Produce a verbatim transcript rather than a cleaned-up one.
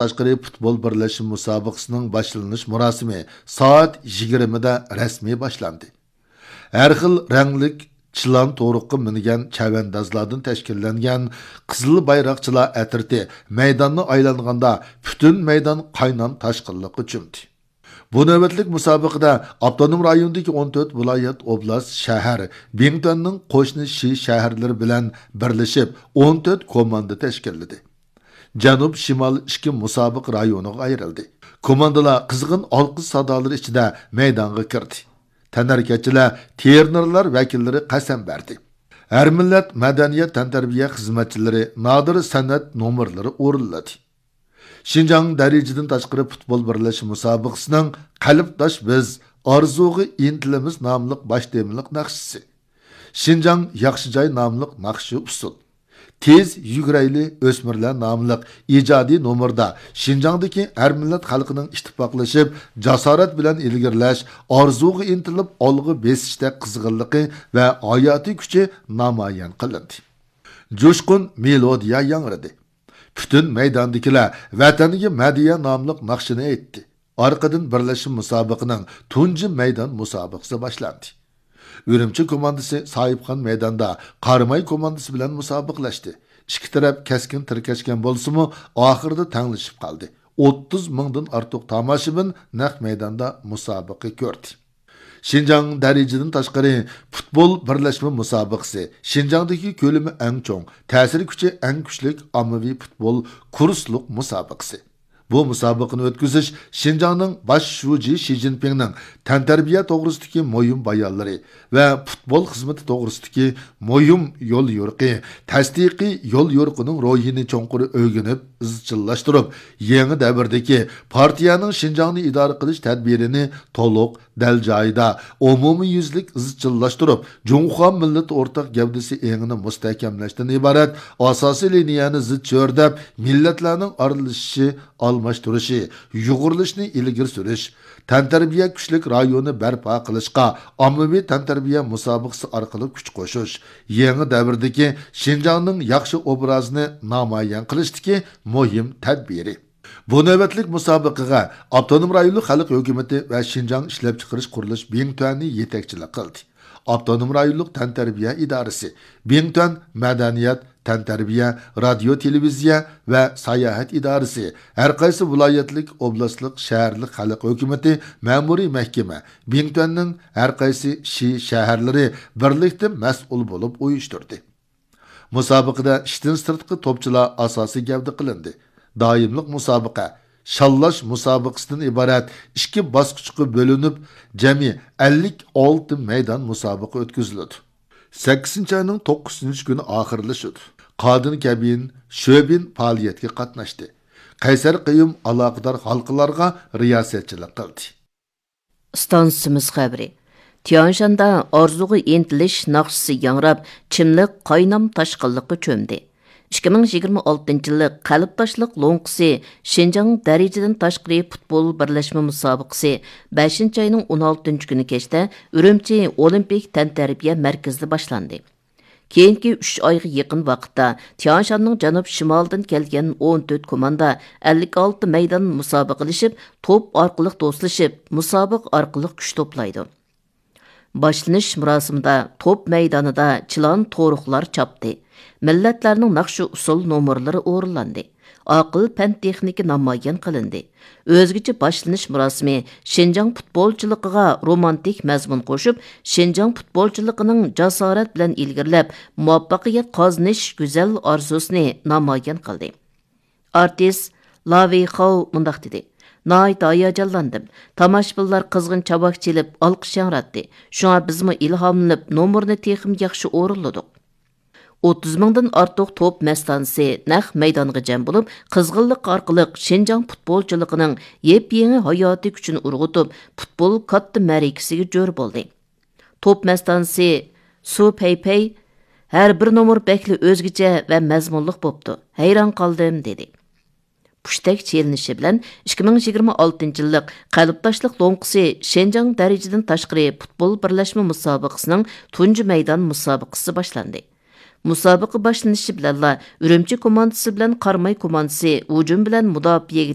تاشقىرى پۇتبول بىرلەشمە مۇسابىقىسىنىڭ باشلىنىش مۇراسىمى سائەت يىگىرمىدە رەسمىي باشلاندى. ھەر خىل رەڭلىك چىلان تورۇققا مىنگەن چەۋەندازلاردىن تەشكىللەنگەن قىزىل بايراقچىلار ئەترىتى مەيداننى ئايلانغاندا، پۈتۈن مەيدان قاينام تاشقىنلىققا چۆمدى. بۇ نۆۋەتلىك مۇسابىقىدە ئاپتونوم رايوندىكى ئون تۆت ۋىلايەت، ئوبلاست، شەھەر، بىڭتۈەننىڭ قوشنا شى شەھەرلىرى بىلەن بىرلىشىپ ئون تۆت كوماندا تەشكىللىدى. جەنۇب، شىمال ئىككى مۇسابىقە رايونىغا ئايرىلدى. كوماندىلار قىزغىن ئالقىش سادالىرى ئىچىدە مەيدانغا كىردى. تەنھەرىكەتچىلەر، ترېنېرلار ۋەكىللىرى قەسەم بەردى. ھەر مىللەت مەدەنىيەت تەنتەربىيە خىزمەتچىلىرى نادىر سەنئەت نومۇرلىرى ئورۇنلىدى. شىنجاڭ دەرىجىدىن تاشقىرى پۇتبول بىرلەشمە مۇسابىقىسىنىڭ قەلبداش بىز، ئارزۇغا ئىنتىلىمىز ناملىق باش تېمىلىق ناخشىسى. شىنجاڭ ياخشى جاي ناملىق ناخشا ئۇسسۇل. تېز يۈگۈرەيلى ئۆسمۈرلەر ناملىق ئىجادىي نومۇردا شىنجاڭدىكى ھەر مىللەت خەلقىنىڭ ئىتتىپاقلىشىپ، جاسارەت بىلەن ئىلگىرىلەش، ئارزۇغا ئىنتىلىپ ئالغا بېسىشتەك قىزغىنلىقى ۋە ھاياتىي كۈچى نامايان قىلىندى. جۇشقۇن مېلودىيە ياڭرىدى. پۈتۈن مەيداندىكىلەر ۋەتەنگە مەدھىيە ناملىق ناخشىنى ئېيتتى. ئارقىدىن بىرلەشمە مۇسابىقىنىڭ تۇنجى مەيدان مۇسابىقىسى باشلاندى. ئۈرۈمچى كوماندىسى ساھىبخان مەيداندا قاراماي كوماندىسى بىلەن مۇسابىقىلەشتى. ئىككى تەرەپ كەسكىن تىركەشكەن بولسىمۇ، ئاخىرىدا تەڭلىشىپ قالدى. ئوتتۇز مىڭدىن ئارتۇق تاماشىبىن نەق مەيداندا مۇسابىقە كۆردى. شىنجاڭ دەرىجىدىن تاشقىرى پۇتبول بىرلەشمە مۇسابىقىسى شىنجاڭدىكى كۆلىمى ئەڭ چوڭ، تەسىر كۈچى ئەڭ كۈچلۈك ئاممىۋى پۇتبول كۇرسلۇق مۇسابىقىسى. بۇ مۇسابىقىنى ئۆتكۈزۈش شىنجاڭنىڭ باش شۇجى شى جىنپىڭنىڭ تەنتەربىيە توغرىسىدىكى مۇھىم بايانلىرى ۋە پۇتبول خىزمىتى توغرىسىدىكى مۇھىم يوليورۇقى، تەستىقىي يوليورۇقىنىڭ روھىنى چوڭقۇر ئۆگىنىپ، ئىزچىللاشتۇرۇپ، يېڭى دەۋردىكى پارتىيەنىڭ شىنجاڭنى ئىدارە قىلىش تەدبىرىنى تولۇق، دەل جايىدا، ئومۇميۈزلۈك ئىزچىللاشتۇرۇپ، جۇڭخۇا مىللىتى ئورتاق گەۋدىسى ئېڭىنى مۇستەھكەملەشتىن ئىبارەت ئاساسىي لىنىيەنى زىچ چۆرىدەپ، مىللەتلەرنىڭ ئارىلىشىشى، ئالماشتۇرۇشى، يۇغۇرۇلۇشىنى ئىلگىرى سۈرۈش، تەنتەربىيە كۈچلۈك رايونى بەرپا قىلىشقا ئاممىۋى تەنتەربىيە مۇسابىقىسى ئارقىلىق كۈچ قوشۇش، يېڭى دەۋردىكى شىنجاڭنىڭ ياخشى ئوبرازىنى نامايان قىلىشتىكى مۇھىم تەدبىرى. بۇ نۆۋەتلىك مۇسابىقىگە ئاپتونوم رايونلۇق خەلق ھۆكۈمىتى ۋە شىنجاڭ ئىشلەپچىقىرىش قۇرۇلۇش بىڭتۈەنى يېتەكچىلىك قىلدى. ئاپتونوم رايونلۇق تەنتەربىيە ئىدارىسى، بىڭتۈەن مەدەنىيەت، تەنتەربىيە، رادىيو، تېلېۋىزىيە ۋە ساياھەت ئىدارىسى، ھەرقايسى ۋىلايەتلىك، ئوبلاستلىق، شەھەرلىك خەلق ھۆكۈمىتى، مەمۇرىي مەھكىمە، بىڭتۈەننىڭ ھەرقايسى شى شەھەرلىرى بىرلىكتە مەسئۇل بولۇپ ئۇيۇشتۇردى. مۇسابىقىدە ئىشتىن سىرتقى توپچىلار ئاساسىي گەۋدە قىلىندى. دائىملىق مۇسابىقە، شاللاش مۇسابىقىسىدىن ئىبارەت ئىككى باسقۇچقا بۆلۈنۈپ، جەمئىي ئەللىك ئالتە مەيدان مۇسابىقە ئۆتكۈزۈلىدۇ. سەككىزىنچى ئاينىڭ توققۇزىنچى كۈنى ئاخىرلىشىدۇ. قادىن كەبىن، شۆبىن پائالىيەتكە قاتناشتى. قەيسەر قېيۇم ئالاقىدار ھالقىلارغا رىياسەتچىلىك قىلدى. ئىستانسىمىز خەۋىرى. تيانشاندا ئارزۇغا ئىنتىلىش ناخشىسى ياڭراپ، چىملىق قاينام تاشقىنلىققا چۆمدى. ئىككى مىڭ يىگىرمە ئالتىنچى يىللىق قەلبداشلىق لوڭقىسى شىنجاڭ دەرىجىدىن تاشقىرى پۇتبول بىرلەشمە مۇسابىقىسى بەشىنچى ئاينىڭ ئون ئالتىنچى كۈنى كەچتە ئۈرۈمچى ئولىمپىك تەنتەربىيە مەركىزىدە باشلاندى. كېيىنكى ئۈچ ئايغا يېقىن ۋاقىتتا تيانشاننىڭ جەنۇب شىمالىدىن كەلگەن ئون تۆت كوماندا ئەللىك ئالتە مەيدان مۇسابىقىلىشىپ، توپ ئارقىلىق دوستلىشىپ، مۇسابىقە ئارقىلىق كۈچ توپلايدۇ. باشلىنىش مۇراسىمىدا توپ مەيدانىدا چىلان تورۇقلار چاپتى. مىللەتلەرنىڭ ناخشا ئۇسسۇل نومۇرلىرى ئورۇنلاندى. ئاقىل پەن تېخنىكا نامايان قىلىندى. ئۆزگىچە باشلىنىش مۇراسىمى شىنجاڭ پۇتبولچىلىقىغا رومانتىك مەزمۇن قوشۇپ، شىنجاڭ پۇتبولچىلىقىنىڭ جاسارەت بىلەن ئىلگىرىلەپ، مۇۋەپپەقىيەت قازىنىش گۈزەل ئارزۇسىنى نامايان قىلدى. ئارتىس لا ۋېيخاۋ مۇنداق دېدى: ناھايىتى ھاياجانلاندىم. تاماشىبىنلار قىزغىن چاۋاك چېلىپ، ئالقىش ياڭراتتى. شۇڭا بىزمۇ ئىلھاملىنىپ، نومۇرنى تېخىمۇ ياخشى ئورۇنلىدۇق. ئوتتۇز مىڭدىن ئارتۇق توپ مەستانىسى نەق مەيدانغا جەم بولۇپ، قىزغىنلىق ئارقىلىق شىنجاڭ پۇتبولچىلىقىنىڭ يېپيېڭى ھاياتىي كۈچىنى ئۇرغۇتۇپ، پۇتبول كاتتا مەرىكىسىگە جور بولدى. توپ مەستانىسى سۇ پەيپەي: ھەر بىر نومۇر بەكلا ئۆزگىچە ۋە مەزمۇنلۇق بوپتۇ، ھەيران قالدىم، دېدى. پۇشتەك چېلىنىشى بىلەن ئىككى مىڭ يىگىرمە ئالتىنچى يىللىق قەلبداشلىق لوڭقىسى شىنجاڭ دەرىجىدىن تاشقىرى پۇتبول بىرلەشمە مۇسابىقىسىنىڭ تۇنجى مەيدان مۇسابىقىسى باشلاندى. مۇسابىقە باشلىنىشى بىلەنلا ئۈرۈمچى كوماندىسى بىلەن قاراماي كوماندىسى ھۇجۇم بىلەن مۇداپىئەگە